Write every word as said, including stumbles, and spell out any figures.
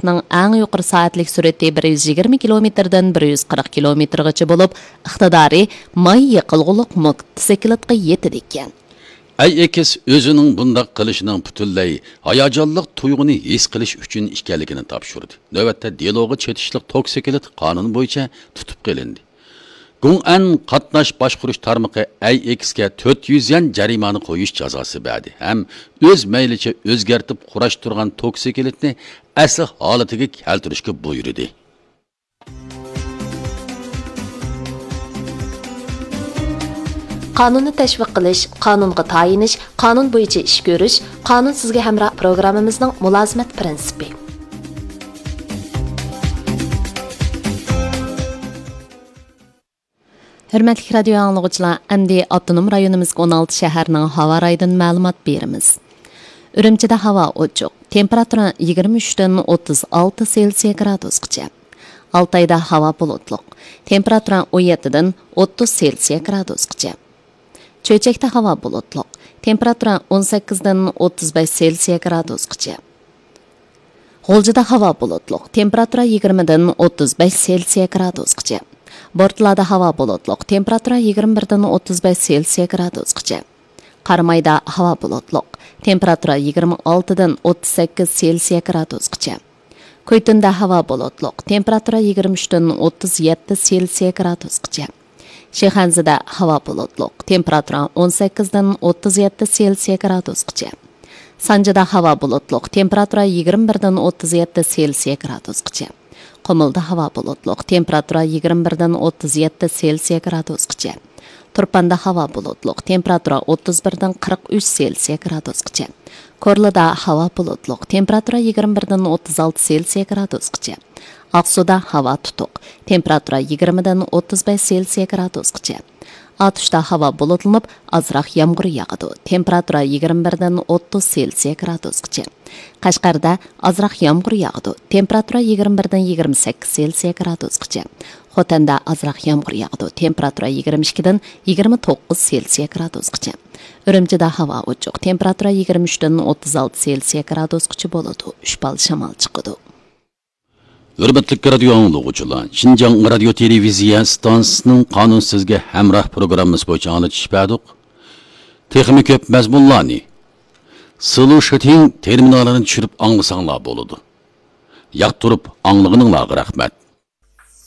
موتوسىكلىتنىڭ ئەڭ يۇقىرى سائەتلىك سۈرئىتى بىر يۈز يىگىرمە كىلومېتىردىن بىر يۈز قىرىق كىلومېتىرغىچە بولۇپ، ئىقتىدارى ماي يېقىلغۇلۇق موتوسىكلىتقا يېتىدىكەن. ئەي ئېكس ئۆزىنىڭ بۇنداق قىلىشىنىڭ پۈتۈنلەي ھاياجانلىق تۇيغۇنى ھېس قىلىش ئۈچۈن ئىكەنلىكىنى تاپشۇردى. نۆۋەتتە دېلوغا چېتىشلىق توكسىكلىت قانۇن بويىچە تۇتۇپ قېلىندى. گۇڭئەن قاتناش باشقۇرۇش تارمىقى ئەي ئېكسكە تۆت يۈز يۈەن جەرىمانە قويۇش جازاسى بەردى ھەم ئۆز مەيلىچە ئۆزگەرتىپ قۇراشتۇرغان توكسىكلىتنى ئەسلى ھالىتىگە كەلتۈرۈشكە بۇيرۇدى. قانۇننى تەشۋىق قىلىش، قانۇنغا تايىنىش، قانۇن بويىچە ئىش كۆرۈش، قانۇن سىزگە ھەمراھ پروگراممىمىزنىڭ مۇلازىمەت پىرىنسىپى. ھۆرمەتلىك رادىيو ئاڭلىغۇچىلار، ئەمدى ئاپتونوم رايونىمىزدىكى ئون ئالتە شەھەرنىڭ ھاۋا رايىدىن مەلۇمات بېرىمىز. ئۈرۈمچىدە ھاۋا ئوچۇق، تېمپېراتۇرا يىگىرمە ئۈچتىن ئوتتۇز ئالتە سېلسىيە گرادۇسقىچە. ئالتايدا ھاۋا بۇلۇتلۇق، تېمپېراتۇرا ئون يەتتىدىن ئوتتۇز سېلسىيە گرادۇسقىچە. چۆچەكتە ھاۋا بۇلۇتلۇق، تېمپېراتۇرا ئون سەككىزدىن ئوتتۇز بەش سېلسىيە گرادۇسقىچە. غۇلجىدا ھاۋا بۇلۇتلۇق، تېمپېراتۇرا يىگىرمىدىن ئوتتۇز بەش سېلسىيە گرادۇسقىچە. بورتالادا ھاۋا بۇلۇتلۇق، تېمپېراتۇرا يىگىرمە بىردىن ئوتتۇز بەش سېلسىيە گرادۇسقىچە. قارامايدا ھاۋا بۇلۇتلۇق، تېمپېراتۇرا يىگىرمە ئالتىدىن ئوتتۇز سەككىز سېلسىيە گرادۇسقىچە. كۇيتۇندا ھاۋا بۇلۇتلۇق، تېمپېراتۇرا يىگىرمە ئۈچتىن ئوتتۇز يەتتە سېلسىيە گرادۇسقىچە. شىخەنزىدە ھاۋا بۇلۇتلۇق، تېمپېراتۇرا ئون سەككىزدىن ئوتتۇز يەتتە سېلسىيە گرادۇسقىچە. سانجىدا ھاۋا بۇلۇتلۇق، تېمپېراتۇرا يىگىرمە بىردىن ئوتتۇز يەتتە سېلسىيە گرادۇسقىچە. قۇمۇلدا ھاۋا بۇلۇتلۇق، تېمپېراتۇرا يىگىرمە بىردىن ئوتتۇز يەتتە سېلسىيە گرادۇسقىچە. تۇرپاندا ھاۋا بۇلۇتلۇق، تېمپېراتۇرا ئوتتۇز بىردىن قىرىق ئۈچ سېلسىيە گرادۇسقىچە. كورلىدا ھاۋا بۇلۇتلۇق، تېمپېراتۇرا يىگىرمە بىردىن ئوتتۇز ئالتە سېلسىيە گرادۇسقىچە. ئاقسۇدا ھاۋا تۇتۇق، تېمپېراتۇرا يىگىرمىدىن ئوتتۇز بەش سېلسىيە گرادۇسقىچە. ئاتۇشتا ھاۋا بۇلۇتلىنىپ، ئازراق يامغۇر ياغىدۇ، تېمپېراتۇرا يىگىرمە بىردىن ئوتتۇز سېلسىيە گرادۇسقىچە. قەشقەردە ئازراق يامغۇر ياغىدۇ، تېمپېراتۇرا يىگىرمە بىردىن يىگىرمە سەككىز سېلسىيە گرادۇسقىچە. خوتەندە ئازراق يامغۇر ياغىدۇ، تېمپېراتۇرا يىگىرمە ئىككىدىن يىگىرمە توققۇز سېلسىيە گرادۇسقىچە. ئۈرۈمچىدە ھاۋا ئوچۇق، تېمپېراتۇرا يىگىرمە ئۈچتىن ئوتتۇز ئالتە سېلسىيە گرادۇسقىچە بولىدۇ، ئۈچ بال شامال چىقىدۇ. ھۆرمەتلىك رادىيو ئاڭلىغۇچىلار، شىنجاڭ رادىيو تېلېۋىزىيە ئىستانسىسىنىڭ قانۇن سىزگە ھەمراھ پروگراممىسى بويىچە ئاڭلىتىش بەردۇق. تېخىمۇ كۆپ مەزمۇنلارنى سلۇشىتىڭ تېرمىنالىنى چۈشۈرۈپ ئاڭلىساڭلار بولىدۇ. ياقتۇرۇپ ئاڭلىغىنىڭلارغا رەھمەت.